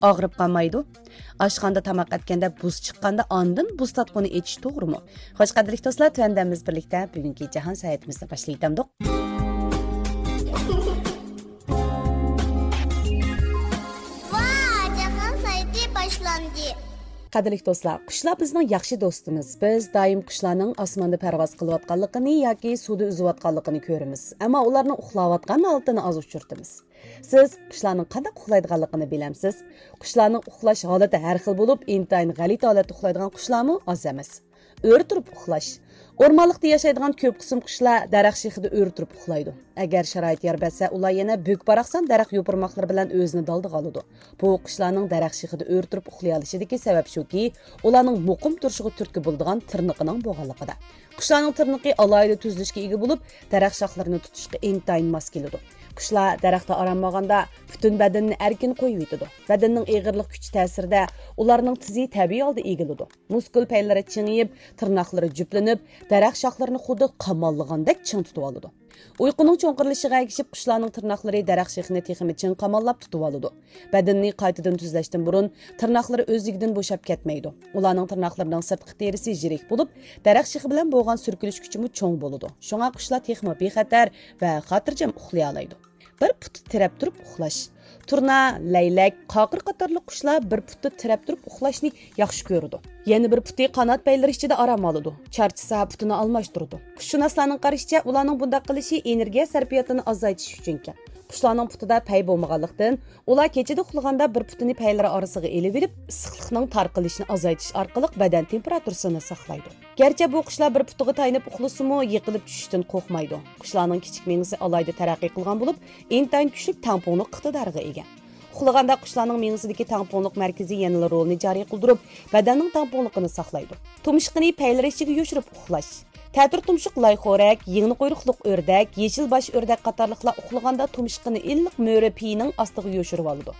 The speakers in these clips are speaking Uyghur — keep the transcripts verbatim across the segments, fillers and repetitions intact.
ئاغرىپ قالمايدۇ. ئاشخانىدا تاماق ئەتكەندە بۇس چىققاندا ئاندىن بۇس تارتقۇنى ئېچىش توغرىمۇ؟ خوش، قەدىرلىك دوستلار، تۆۋەندە بىز بىرلىكتە بۈگۈنكى جاھان ساياھىتىمىزنى باشلاۋېتەمدۇق. ۋا، جاھان ساياھىتى باشلاندى. قەدىرلىك دوستلار، قۇشلار بىزنىڭ ياخشى دوستىمىز. بىز دائىم قۇشلارنىڭ ئاسماندا پەرۋاز قىلىۋاتقانلىقىنى ياكى سۇدا ئۈزۈۋاتقانلىقىنى كۆرىمىز. ئەمما ئۇلارنىڭ ئۇخلاۋاتقان ھالىتىنى ئاز ئۇچرىتىمىز. سىز قۇشلارنىڭ قانداق ئۇخلايدىغانلىقىنى بىلەمسىز؟ قۇشلارنىڭ ئۇخلاش ھالىتى ھەر خىل بولۇپ، ئىنتايىن غەلىتە ھالەتتە ئۇخلايدىغان قۇشلارمۇ ئاز ئەمەس. ئۆرە تۇرۇپ ئۇخلاش. ئورمانلىقتا ياشايدىغان كۆپ قىسىم قۇشلار دەرەخ شېخىدا ئۆرە تۇرۇپ ئۇخلايدۇ. ئەگەر شارائىت يار بەرسە، ئۇلار يەنە بۈك-باراقسان دەرەخ يوپۇرماقلىرى بىلەن ئۆزىنى دالدىغا ئالىدۇ. بۇ قۇشلارنىڭ دەرەخ شېخىدا ئۆرە تۇرۇپ ئۇخلىيالىشىدىكى سەۋەب شۇكى، ئۇلارنىڭ مۇقىم تۇرۇشىغا تۈرتكە بولىدىغان تىرنىقىنىڭ بولغانلىقىدا. قۇشلارنىڭ تىرنىقى ئالاھىدە تۈزۈلۈشكە ئىگە بولۇپ، دەرەخ شاخلىرىنى تۇتۇشقا ئىنتايىن ماس كېلىدۇ. قۇشلار دەرەختە ئارام ئالغاندا پۈتۈن بەدىنىنى ئەركىن قويۇۋېتىدۇ. بەدەننىڭ ئېغىرلىق كۈچى تەسىرىدە ئۇلارنىڭ تىزى تەبىئىي ھالدا ئېگىلىدۇ. مۇسكۇل پەيلىرى چىڭىيىپ، تىرناقلىرى جۈپلىنىپ، دەرەخ شاخلىرىنى خۇددى قاماللىغاندەك چىڭ تۇتۇۋالىدۇ. ئۇيقۇنىڭ چوڭقۇرلىشىشىغا ئەگىشىپ، قۇشلارنىڭ تىرناقلىرى دەرەخ شېخىنى تېخىمۇ چىڭ قاماللاپ تۇتۇۋالىدۇ. بەدىنىنى قايتىدىن تۈزلەشتىن بۇرۇن، تىرناقلىرى ئۆزلۈكىدىن بوشاپ كەتمەيدۇ. ئۇلارنىڭ تىرناقلىرىنىڭ سىرتقى تېرىسى يىرىك بولۇپ، دەرەخ شېخى بىلەن بولغان سۈركىلىش كۈچىمۇ چوڭ بولىدۇ. شۇڭا قۇشلار تېخىمۇ بىخەتەر ۋە خاتىرجەم ئۇخلىيالايدۇ. بىر پۇتى تىرەپ تۇرۇپ ئۇخلاش. تۇرنا، لەيلەك، قاقىر قاتارلىق قۇشلار بىر پۇتى تىرەپ تۇرۇپ ئۇخلاشنى ياخشى كۆرىدۇ. يەنە بىر پۇتى قانات پەيلىرى ئىچىدە ئارام ئالىدۇ. چارچىسا، پۇتىنى ئالماشتۇرىدۇ. قۇششۇناسلارنىڭ قارىشىچە، ئۇلارنىڭ بۇنداق قىلىشى ئېنېرگىيە سەرپىياتىنى ئازايتىش ئۈچۈنكەن. قۇشلارنىڭ پۇتىدا پەي بولمىغانلىقتىن، ئۇلار كېچىدە ئۇخلىغاندا بىر پۇتىنى پەيلىرى ئارىسىغا ئېلىۋېلىپ، ئىسسىقلىقنىڭ تارقىلىشىنى ئازايتىش ئارقىلىق بەدەن تېمپېراتۇرىسىنى ساقلايدۇ. گەرچە بۇ قۇشلار بىر پۇتىغا تايىنىپ ئۇخلىسىمۇ، يىقىلىپ چۈشۈشتىن قورقمايدۇ. قۇشلارنىڭ كىچىك مېڭىسى ئالاھىدە تەرەققىي قىلغان بولۇپ، ئىنتايىن كۈچلۈك تەڭپۇڭلۇق ئىقتىدارىغا ئىگە. ئۇخلىغاندا قۇشلارنىڭ مېڭىسىدىكى تەڭپۇڭلۇق مەركىزى يەنىلا رولىنى جارى قىلدۇرۇپ، بەدەننىڭ تەڭپۇڭلۇقىنى ساقلايدۇ. تۇمشۇقىنى پەيلىرى ئىچىگە يوشۇرۇپ ئۇخلاش. تەتۈر تۇمشۇق لايخورەك، يىڭنە قۇيرۇقلۇق ئۆردەك، يېشىل باش ئۆردەك قاتارلىقلار ئۇخلىغاندا تۇمشۇقىنى ئىللىق مۈرە پېيىنىڭ ئاستىغا يوشۇرۇۋالىدۇ.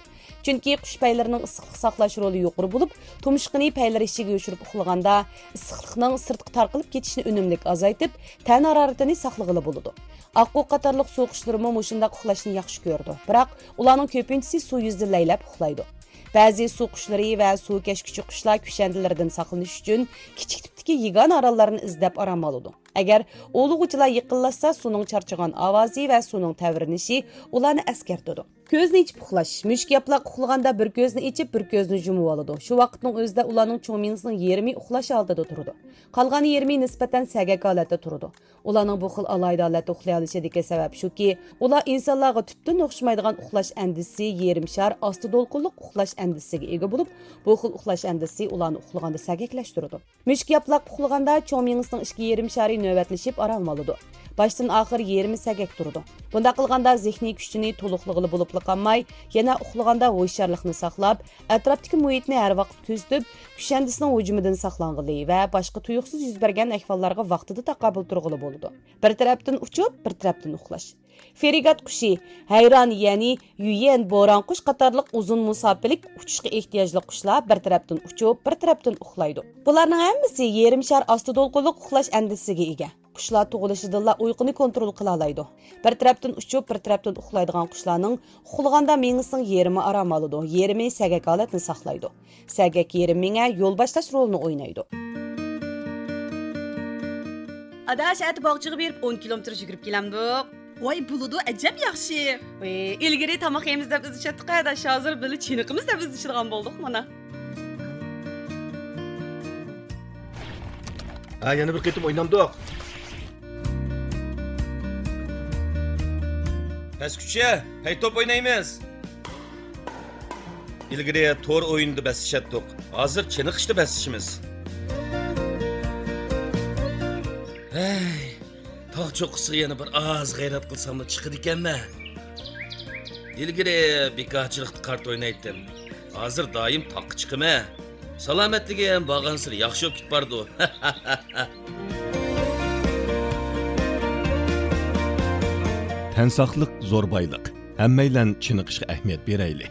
چۈنكى قۇش پەيلىرىنىڭ ئىسسىقلىق ساقلاش رولى يۇقىرى بولۇپ، تۇمشۇقىنى پەيلىرى ئىچىگە يوشۇرۇپ ئۇخلىغاندا، ئىسسىقلىقنىڭ سىرتقا تارقىلىپ كېتىشىنى ئۈنۈملۈك ئازايتىپ، تەن ھارارىتىنى ساقلىغىلى بولىدۇ. ئاققۇ قاتارلىق سۇ قۇشلىرىمۇ مۇشۇنداق ئۇخلاشنى ياخشى كۆرىدۇ. بىراق، ئۇلارنىڭ كۆپىنچىسى سۇ يۈزىدە لەيلەپ ئۇخلايدۇ. بەزى سۇ قۇشلىرى ۋە سۇ كەشكۈچى قۇشلار كۈشەندىلىرىدىن ساقلىنىش ئۈچۈن كىچىك تىپتىكى يېگانە ئاراللارنى ئىزدەپ ئارام ئالىدۇ. ئەگەر ئوۋلىغۇچىلار يېقىنلاشسا، سۇنىڭ چارچىغان ئاۋازى ۋە سۇنىڭ تەۋرىنىشى ئۇلارنى ئەسكەرتىدۇ. كۆزنى ئېچىپ ئۇخلاش. مۈشۈك ياپىلاق ئۇخلىغاندا بىر كۆزنى ئېچىپ، بىر كۆزنى يۇمۇۋالىدۇ. شۇ ۋاقىتنىڭ ئۆزىدە ئۇلارنىڭ چوڭ مېڭىسىنىڭ يېرىمى ئۇخلاش ھالىتىدە تۇرىدۇ. قالغان يېرىمى نىسبەتەن سەگەك ھالەتتە تۇرىدۇ. ئۇلارنىڭ بۇ خىل ئالاھىدە ھالەتتە ئۇخلىيالىشىدىكى سەۋەب شۇكى، ئۇلار ئىنسانلارغا تۈپتىن ئوخشىمايدىغان ئۇخلاش ئەندىزىسى، يېرىم شار ئاستا دولقۇنلۇق ئۇخلاش ئەندىزىسىگە ئىگە بولۇپ، بۇ خىل ئۇخلاش ئەندىزىسى ئۇلارنى ئۇخلىغاندا سەگەكلەشتۈرىدۇ. مۈشۈك ياپىلاق ئۇخلىغاندا چوڭ مېڭىسىنىڭ ئىككى يېرىم شارى نۆۋەتلىشىپ ئارام ئالىدۇ. باشتىن ئاخىر يېرىمى سەگەك تۇرىدۇ. بۇنداق قىلغاندا زېھنىي كۈچىنى تولۇقلىغىلى بولۇپلا قالماي، يەنە ئۇخلىغاندا ھوشيارلىقنى ساقلاپ، ئەتراپتىكى مۇھىتنى ھەر ۋاقىت كۆزىتىپ، كۈشەندىسىنىڭ ھۇجۇمىدىن ساقلانغىلى ۋە باشقا تۇيۇقسىز يۈز بەرگەن ئەھۋاللارغا ۋاقتىدا تاقابىل تۇرغىلى بولىدۇ. بىر تەرەپتىن ئۇچۇپ، بىر تەرەپتىن ئۇخلاش. فرېگات قۇشى، ھەيران، يەنى يۈيەن بوران قۇش قاتارلىق ئۇزۇن مۇساپىلىك ئۇچۇشقا ئېھتىياجلىق قۇشلار بىر تەرەپتىن ئۇچۇپ، بىر تەرەپتىن ئۇخلايدۇ. بۇلارنىڭ ھەممىسى يېرىم شار ئاستا دولقۇنلۇق ئۇخلاش ئەندىزىسىگە ئىگە. قۇشلار تۇغۇلۇشىدىنلا ئۇيقۇنى كونترول قىلالايدۇ. بىر تەرەپتىن ئۇچۇپ، بىر تەرەپتىن ئۇخلايدىغان قۇشلارنىڭ ئۇخلىغاندا مېڭىسىنىڭ يېرىمى ئارام ئالىدۇ، يېرىمى سەگەك ھالەتنى ساقلايدۇ. سەگەك يېرىم مېڭە يول باشلاش رولىنى ئوينايدۇ. ئاداش، ئەتە باغچىغا بېرىپ ئون كىلومېتىر يۈگۈرۈپ كېلەمدۇق. ۋاي، بولىدۇ، ئەجەب ياخشى. ئىلگىرى تاماق يەيمىز دەپ ئىزدىشەتتۇق ئاداش، ھازىر بىللە چېنىقىمىز دەپ ئىزدىشىدىغان بولدۇق مانا. ھە، يەنە بىر قېتىم ئوينامدۇق. پەسكۈچە، پەي توپ ئوينايمىز. ئىلگىرى تور ئويۇندا بەسلىشەتتۇق، ھازىر چېنىقىشتا بەسلىشىمىز. ھەي، تاغ چوققىسىغا يەنە بىر ئاز غەيرەت قىلساملا چىقىدىكەنمەن. ئىلگىرى بىكارچىلىقتا قارت ئوينايتتىم، ھازىر دائىم تاغقا چىقىمەن. سالامەتلىكىم بارغانسېرى ياخشى بولۇپ كېتىپ بارىدۇ. تەن ساقلىق زور بايلىق. ھەممەيلەن چېنىقىشقا ئەھمىيەت بېرەيلى.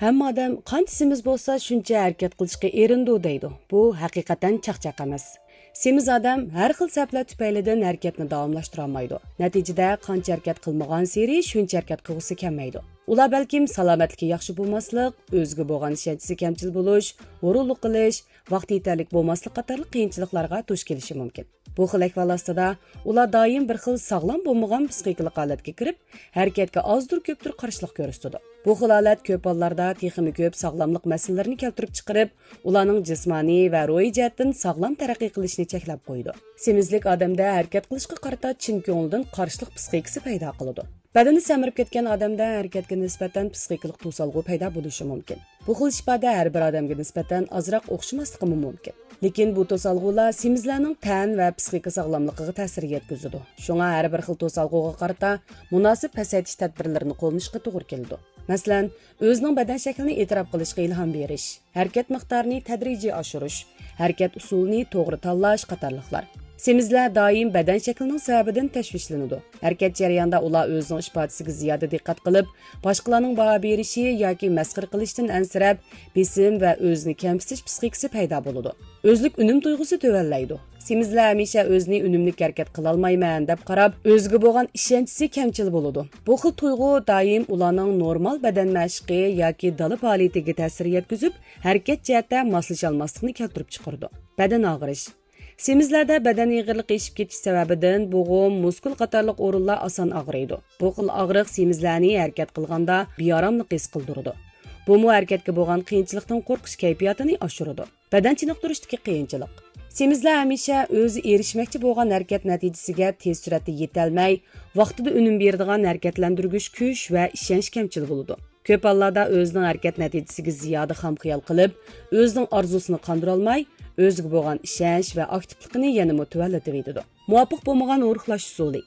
ھەممە ئادەم «قانچە سېمىز بولسا، شۇنچە ھەرىكەت قىلىشقا ئېرىنىدۇ» دەيدۇ. بۇ ھەقىقەتەن چاقچاق ئەمەس. سېمىز ئادەم ھەر خىل سەۋەبلەر تۈپەيلىدىن ھەرىكەتنى داۋاملاشتۇرالمايدۇ. نەتىجىدە، قانچە ھەرىكەت قىلمىغانسېرى شۇنچە ھەرىكەت قىلغۇسى كەلمەيدۇ. ئۇلار بەلكىم سالامەتلىكى ياخشى بولماسلىق، ئۆزىگە بولغان ئىشەنچىسى كەمچىل بولۇش، ھۇرۇنلۇق قىلىش، ۋاقتى يېتەرلىك بولماسلىق قاتارلىق قىيىنچىلىقلارغا دۇچ كېلىشى مۇمكىن. بۇ خىل ئەھۋال ئاستىدا ئۇلار دائىم بىر خىل ساغلام بولمىغان پسىخىكىلىق ھالەتكە كىرىپ، ھەرىكەتكە ئازدۇر كۆپتۇر قارشىلىق كۆرسىتىدۇ. بۇ خىل ھالەت كۆپ ھاللاردا تېخىمۇ كۆپ ساغلاملىق مەسىلىلىرىنى كەلتۈرۈپ چىقىرىپ، ئۇلارنىڭ جىسمانىي ۋە روھىي جەھەتتىن ساغلام تەرەققىي قىلىشىنى چەكلەپ قويىدۇ. سېمىزلىك ئادەمدە ھەرىكەت قىلىشقا قارىتا چىن كۆڭلىدىن قارشىلىق پسىخىكىسى پەيدا قىلىدۇ. بەدىنى سەمرىپ كەتكەن ئادەمدە ھەرىكەتكە نىسبەتەن پسىخىكىلىق توسالغۇ پەيدا بولۇشى مۇمكىن. بۇ خىل ئىپادە ھەر بىر ئادەمگە نىسبەتەن ئازراق ئوخشىماسلىقىمۇ مۇمكىن. لېكىن بۇ توسالغۇلار سېمىزلەرنىڭ تەن ۋە پسىخىكا ساغلاملىقىغا تەسىر يەتكۈزىدۇ. شۇڭا ھەر بىر خىل توسالغۇغا قارىتا مۇناسىپ پەسەيتىش تەدبىرلىرىنى قوللىنىشقا توغرا كېلىدۇ. مەسىلەن، ئۆزىنىڭ بەدەن شەكلىنى ئېتىراپ قىلىشقا ئىلھام بېرىش، ھەرىكەت مىقدارىنى تەدرىجىي ئاشۇرۇش، ھەرىكەت ئۇسۇلىنى توغرا تاللاش قاتارلىقلار. سېمىزلەر دائىم بەدەن شەكلىنىڭ سەۋەبىدىن تەشۋىشلىنىدۇ. ھەرىكەت جەريانىدا ئۇلار ئۆزىنىڭ ئىپادىسىگە زىيادە دىققەت قىلىپ، باشقىلارنىڭ باھا بېرىشى ياكى مەسخىرە قىلىشتىن ئەنسىرەپ، بېسىم ۋە ئۆزىنى كەمسىتىش پسىخىكىسى پەيدا بولىدۇ. ئۆزلۈك ئۈنۈم تۇيغۇسى تۆۋەنلەيدۇ. سېمىزلەر ھەمىشە ئۆزىنى ئۈنۈملۈك ھەرىكەت قىلالمايمەن دەپ قاراپ، ئۆزىگە بولغان ئىشەنچىسى كەمچىل بولىدۇ. بۇ خىل تۇيغۇ دائىم ئۇلارنىڭ نورمال بەدەن مەشىقى ياكى دالا پائالىيىتىگە تەسىر يەتكۈزۈپ، ھەرىكەت جەھەتتە ماسلىشالماسلىقنى كەلتۈرۈپ چىقىرىدۇ. بەدەن ئاغرىش. سېمىزلەردە بەدەن ئېغىرلىقى ئېشىپ كېتىش سەۋەبىدىن بوغۇم، مۇسكۇل قاتارلىق ئورۇنلار ئاسان ئاغرىيدۇ. بۇ خىل ئاغرىق سېمىزلەرنى ھەرىكەت قىلغاندا بىئاراملىق ھېس قىلدۇرىدۇ. بۇمۇ ھەرىكەتكە بولغان قىيىنچىلىقتىن قورقۇش كەيپىياتىنى ئاشۇرىدۇ. بەدەن چېنىقتۇرۇشتىكى قىيىنچىلىق. سېمىزلەر ھەمىشە ئۆزى ئېرىشمەكچى بولغان ھەرىكەت نەتىجىسىگە تېز سۈرئەتتە يېتەلمەي، ۋاقتىدا ئۈنۈم بېرىدىغان ھەرىكەتلەندۈرگۈچ كۈچ ۋە ئىشەنچ كەمچىل بولىدۇ. كۆپ ھاللاردا ئۆزىنىڭ ھەرىكەت نەتىجىسىگە زىيادە خام خىيال قىلىپ، ئۆزىنىڭ ئارزۇسىنى قاندۇرالماي، ئۆزىگە بولغان ئىشەنچ ۋە ئاكتىپلىقىنى يەنىمۇ تۆۋەنلىتىۋېتىدۇ. مۇۋاپىق بولمىغان ئورۇقلاش ئۇسۇلى.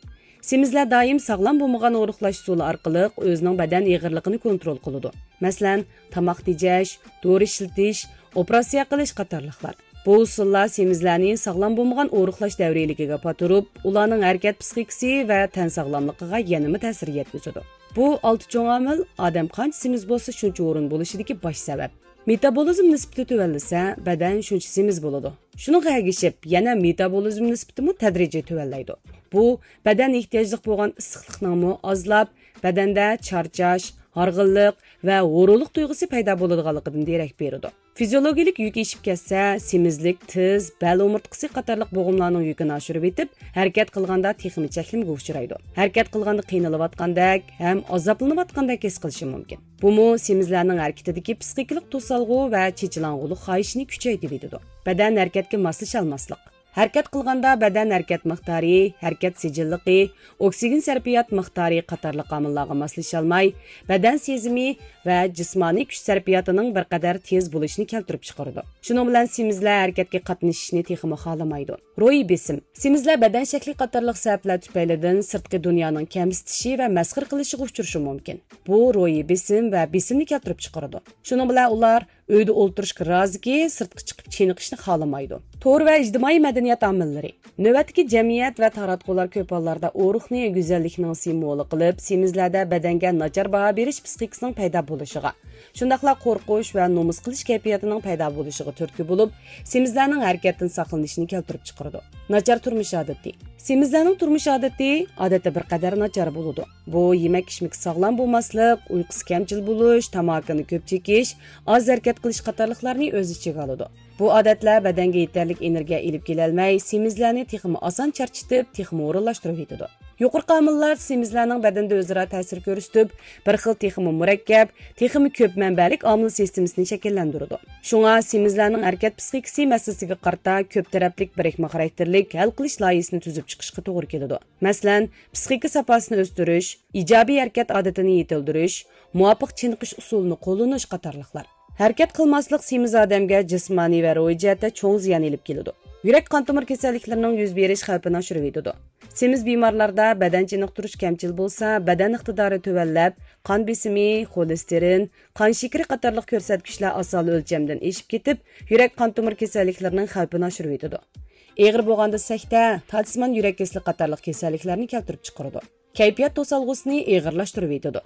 سېمىزلەر دائىم ساغلام بولمىغان ئورۇقلاش ئۇسۇلى ئارقىلىق ئۆزىنىڭ بەدەن ئېغىرلىقىنى كونترول قىلىدۇ. مەسىلەن، تاماق تېجەش، دورا ئىشلىتىش، ئوپېراتسىيە قىلىش قاتارلىقلار. بۇ ئۇسۇللار سېمىزلەرنى ساغلام بولمىغان ئورۇقلاش دەۋرىيلىكىگە پاتۇرۇپ، ئۇلارنىڭ ھەرىكەت پسىخىكىسى ۋە تەن ساغلاملىقىغا يەنىمۇ تەسىر يەتكۈزىدۇ. بۇ ئالتە چوڭ ئامىل ئادەم قانچە سېمىز بولسا، شۇنچە ھۇرۇن بولۇشىدىكى باش سەۋەب. مېتابولىزم نىسبىتى تۆۋەنلىسە، بەدەن شۇنچە سېمىز بولىدۇ. شۇنىڭغا ئەگىشىپ، يەنە مېتابولىزم نىسبىتىمۇ تەدرىجىي تۆۋەنلەيدۇ. بۇ بەدەن ئېھتىياجلىق بولغان ئىسسىقلىقنىڭمۇ ئازلاپ، بەدەندە چارچاش، ھارغىنلىق ۋە ھۇرۇنلۇق تۇيغۇسى پەيدا بولىدىغانلىقىدىن دېرەك بېرىدۇ. فىزىولوگىيىلىك يۈكى ئېشىپ كەتسە، سېمىزلىك تىز، بەل ئومۇرتقىسى قاتارلىق بوغۇملارنىڭ يۈكىنى ئاشۇرۇۋېتىپ، ھەرىكەت قىلغاندا تېخىمۇ چەكلىمىگە ئۇچرايدۇ. ھەرىكەت قىلغاندا قىينىلىۋاتقاندەك ھەم ئازابلىنىۋاتقاندەك ھېس قىلىشى مۇمكىن. بۇمۇ سېمىزلەرنىڭ ھەرىكىتىدىكى پسىخىكىلىق توسالغۇ ۋە چېچىلاڭغۇلۇق خاھىشىنى كۈچەيتىۋېتىدۇ. بەدەن ھەرىكەتكە ماسلىشالماسلىق. ھەرىكەت قىلغاندا بەدەن ھەرىكەت مىقدارى، ھەرىكەت سىجىللىقى، ئوكسىگېن سەرپىيات مىقدارى قاتارلىق ئامىللارغا ماسلىشالماي، بەدەن سېزىمى ۋە جىسمانىي كۈچ سەرپىياتىنىڭ بىر قەدەر تېز بولۇشىنى كەلتۈرۈپ چىقىرىدۇ. شۇنىڭ بىلەن سېمىزلەر ھەرىكەتكە قاتنىشىشنى تېخىمۇ خالىمايدۇ. روھىي بېسىم. سېمىزلەر بەدەن شەكلى قاتارلىق سەۋەبلەر تۈپەيلىدىن سىرتقى دۇنيانىڭ كەمسىتىشى ۋە مەسخىرە قىلىشىغا ئۇچرىشى مۇمكىن. بۇ روھىي بېسىم ۋە بېسىمنى كەلتۈرۈپ چىقىرىدۇ. شۇنىڭ بىلەن ئۇلار ئۆيدە ئولتۇرۇشقا رازىكى، سىرتقا چىقىپ چېنىقىشنى خالىمايدۇ. تور ۋە ئىجتىمائىي مەدەنىيەت ئامىللىرى. نۆۋەتتىكى جەمئىيەت ۋە تاراتقۇلار كۆپ ھاللاردا ئورۇقنى گۈزەللىكنىڭ سىمۋولى قىلىپ، سېمىزلەردە بەدەنگە ناچار باھا بېرىش پسىخىكىسىنىڭ پەيدا بولۇشىغا، شۇنداقلا قورقۇش ۋە نومۇس قىلىش كەيپىياتىنىڭ پەيدا بولۇشىغا تۈرتكە بولۇپ، سېمىزلەرنىڭ ھەرىكەتتىن ساقلىنىشىنى كەلتۈرۈپ چىقىرىدۇ. ناچار تۇرمۇش ئادىتى. سېمىزلەرنىڭ تۇرمۇش ئادىتى، ئادەتتە، بىر قەدەر ناچار بولىدۇ. بۇ يېمەك-ئىچمىكى ساغلام بولماسلىق، ئۇيقۇسى كەمچىل بولۇش، تاماكىنى كۆپ چېكىش، ئاز ھەرىكەت قىلىش قاتارلىقلارنى ئۆز ئىچىگە ئالىدۇ. بۇ ئادەتلەر بەدەنگە يېتەرلىك ئېنېرگىيە ئېلىپ كېلەلمەي، سېمىزلەرنى تېخىمۇ ئاسان چارچىتىپ، تېخىمۇ ھۇرۇنلاشتۇرۇۋېتىدۇ. يۇقىرىقى ئامىللار سېمىزلەرنىڭ بەدەندە ئۆزئارا تەسىر كۆرسىتىپ، بىر خىل تېخىمۇ مۇرەككەپ، تېخىمۇ كۆپ مەنبەلىك ئامىل سىستېمىسىنى شەكىللەندۈرىدۇ. شۇڭا سېمىزلەرنىڭ ھەرىكەت پسىخىكىسى مەسىلىسىگە قارىتا كۆپ تەرەپلىك بىرىكمە خاراكتېرلىك ھەل قىلىش لايىھىسىنى تۈزۈپ چىقىشقا توغرا كېلىدۇ. مەسىلەن، پسىخىكا ساپاسىنى ئۆستۈرۈش، ئىجابىي ھەرىكەت ئادىتىنى يېتىلدۈرۈش، مۇۋاپىق چېنىقىش ئۇسۇلىنى قوللىنىش قاتارلىقلار. ھەرىكەت قىلماسلىق سېمىز ئادەمگە جىسمانىي ۋە روھىي جەھەتتە چوڭ زىيان ئېلىپ كېلىدۇ. يۈرەك قان تومۇر كېسەللىكلىرىنىڭ يۈز بېرىش خەۋپىنى ئاشۇرۇۋېتىدۇ. سېمىز بىمارلاردا بەدەن چېنىقتۇرۇش كەمچىل بولسا، بەدەن ئىقتىدارى تۆۋەنلەپ، قان بېسىمى، خولېستېرىن، قان شېكىرى قاتارلىق كۆرسەتكۈچلەر ئاسانلا ئۆلچەمدىن ئېشىپ كېتىپ، يۈرەك قان تومۇر كېسەللىكلىرىنىڭ خەۋپىنى ئاشۇرۇۋېتىدۇ. ئېغىر بولغاندا سەكتە، تالىسىمان يۈرەك كېسىلى قاتارلىق كېسەللىكلەرنى كەلتۈرۈپ چىقىرىدۇ. كەيپىيات توسالغۇسىنى ئېغىرلاشتۇرۇۋېتىدۇ.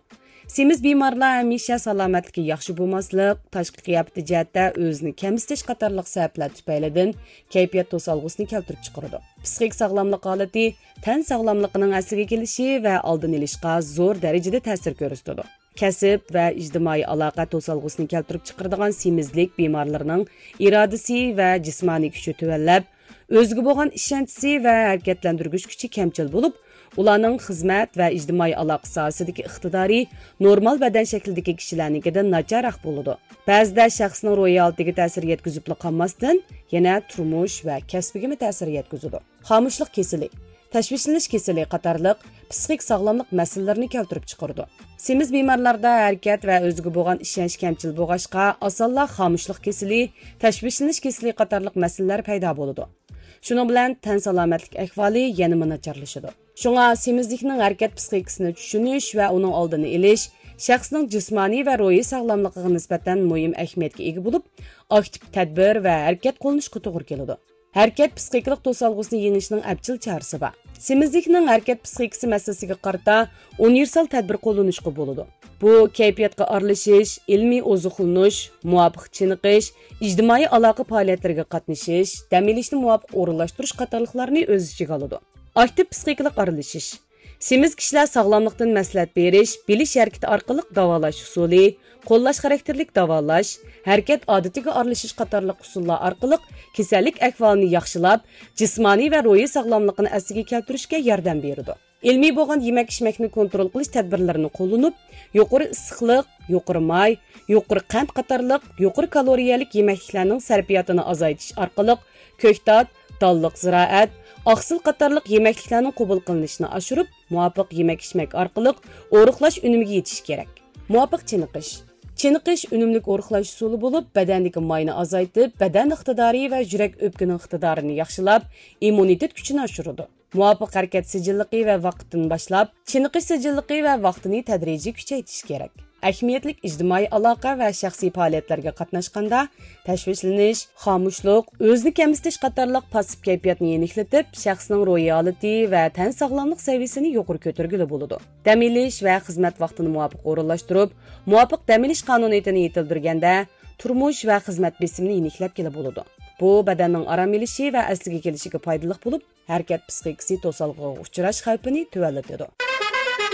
سېمىز بىمارلار ھەمىشە سالامەتلىكى ياخشى بولماسلىق، تاشقى قىياپىتى جەھەتتە ئۆزىنى كەمسىتىش قاتارلىق سەۋەبلەر تۈپەيلىدىن كەيپىيات توسالغۇسىنى كەلتۈرۈپ چىقىرىدۇ. پىسخىك ساغلاملىق ھالىتى تەن ساغلاملىقىنىڭ ئەسلىگە كېلىشى ۋە ئالدىنى ئېلىشقا زور دەرىجىدە تەسىر كۆرسىتىدۇ. كەسىپ ۋە ئىجتىمائىي ئالاقە توسالغۇسىنى كەلتۈرۈپ چىقىرىدىغان سېمىزلىك بىمارلىرىنىڭ ئىرادىسى ۋە جىسمانىي كۈچى تۆۋەنلەپ، ئۆزىگە بولغان ئىشەنچىسى ۋە ھەرىكەتلەندۈرگۈچ كۈچى كەمچىل بولۇپ، ئۇلارنىڭ خىزمەت ۋە ئىجتىمائىي ئالاقە ساھەسىدىكى ئىقتىدارى نورمال بەدەن شەكلىدىكى كىشىلەرنىڭكىدىن ناچارراق بولىدۇ. بەزىدە شەخسنىڭ روھىي ھالىتىگە تەسىر يەتكۈزۈپلا قالماستىن، يەنە تۇرمۇش ۋە كەسپىگىمۇ تەسىر يەتكۈزىدۇ. خامۇشلۇق كېسىلى، تەشۋىشلىنىش كېسىلى قاتارلىق پىسخىك ساغلاملىق مەسىلىلىرىنى كەلتۈرۈپ چىقىرىدۇ. سېمىز بىمارلاردا ھەرىكەت ۋە ئۆزىگە بولغان ئىشەنچ كەمچىل بولغاچقا، ئاسانلا خامۇشلۇق كېسىلى، تەشۋىشلىنىش كېسىلى قاتارلىق مەسىلىلەر پەيدا بولىدۇ. شۇنىڭ بىلەن تەن سالامەتلىك ئەھۋالى يەنىمۇ ناچارلىشىدۇ. شۇڭا سېمىزلىكنىڭ ھەرىكەت پىسخىكىسىنى چۈشىنىش ۋە ئۇنىڭ ئالدىنى ئېلىش شەخسنىڭ جىسمانىي ۋە روھىي ساغلاملىقىغا نىسبەتەن مۇھىم ئەھمىيەتكە ئىگە بولۇپ، ئاكتىپ تەدبىر ۋە ھەرىكەت قوللىنىشقا توغرا كېلىدۇ. ھەرىكەت پىسخىكىلىق توسالغۇسىنى يېڭىشنىڭ ئەپچىل چارىسى بار. سېمىزلىكنىڭ ھەرىكەت پىسخىكىسى مەسىلىسىگە قارىتا ئۇنىۋېرسال تەدبىر قوللىنىشقا بولىدۇ. بۇ كەيپىياتقا ئارىلىشىش، ئىلمىي ئوزۇقلىنىش، مۇۋاپىق چېنىقىش، ئىجتىمائىي ئالاقە پائالىيەتلىرىگە قاتنىشىش، دەم ئېلىشنى مۇۋاپىق ئورۇنلاشتۇرۇش قاتارلىقلارنى ئۆز ئىچىگە ئالىدۇ. ئاكتىپ پىسخىكىلىق ئارىلىشىش. سېمىز كىشىلەر ساغلاملىقتىن مەسلىھەت بېرىش، بىلىش ھەرىكىتى ئارقىلىق داۋالاش ئۇسۇلى، قوللاش خاراكتېرلىك داۋالاش، ھەرىكەت ئادىتىگە ئارىلىشىش قاتارلىق ئۇسۇللار ئارقىلىق كېسەللىك ئەھۋالىنى ياخشىلاپ، جىسمانىي ۋە روھىي ساغلاملىقىنى ئەسلىگە كەلتۈرۈشكە ياردەم بېرىدۇ. ئىلمىي بولغان يېمەك-ئىچمەكنى كونترول قىلىش تەدبىرلىرىنى قوللىنىپ، يۇقىرى ئىسسىقلىق، يۇقىرى ماي، يۇقىرى قەنت قاتارلىق يۇقىرى كالورىيەلىك يېمەكلىكلەرنىڭ سەرپىياتىنى ئازايتىش ئارقىلىق، كۆكتات، دانلىق زىرائەت، ئاقسىل قاتارلىق يېمەكلىكلەرنىڭ قوبۇل قىلىنىشىنى ئاشۇرۇپ، مۇۋاپىق يېمەك-ئىچمەك ئارقىلىق ئورۇقلاش ئۈنۈمىگە يېتىش كېرەك. مۇۋاپىق چېنىقىش. چېنىقىش ئۈنۈملۈك ئورۇقلاش ئۇسۇلى بولۇپ، بەدەندىكى ماينى ئازايتىپ، بەدەن ئىقتىدارى ۋە يۈرەك ئۆپكىنىڭ ئىقتىدارىنى ياخشىلاپ، ئىممۇنىتېت كۈچىنى ئاشۇرىدۇ. مۇۋاپىق ھەرىكەت سىجىللىقى ۋە ۋاقىتتىن باشلاپ، چېنىقىش سىجىللىقى ۋە ۋاقتىنى تەدرىجىي كۈچەيتىش كېرەك. ئەھمىيەتلىك ئىجتىمائىي ئالاقە ۋە شەخسىي پائالىيەتلەرگە قاتناشقاندا، تەشۋىشلىنىش، خامۇشلۇق، ئۆزىنى كەمسىتىش قاتارلىق پاسسىپ كەيپىياتنى يېنىكلىتىپ، شەخسنىڭ روھىي ھالىتى ۋە تەن ساغلاملىق سەۋىيەسىنى يۇقىرى كۆتۈرگىلى بولىدۇ. دەم ئېلىش ۋە خىزمەت ۋاقتىنى مۇۋاپىق ئورۇنلاشتۇرۇپ، مۇۋاپىق دەم ئېلىش قانۇنىيىتىنى يېتىلدۈرگەندە، تۇرمۇش ۋە خىزمەت بېسىمىنى يېنىكلەتكىلى بولىدۇ. بۇ بەدەننىڭ ئارام ئېلىشى ۋە ئەسلىگە كېلىشىگە پايدىلىق بولۇپ، ھەرىكەت پىسخىكىسى توسالغۇغا ئۇچراش خەۋپىنى تۆۋەنلىتىدۇ.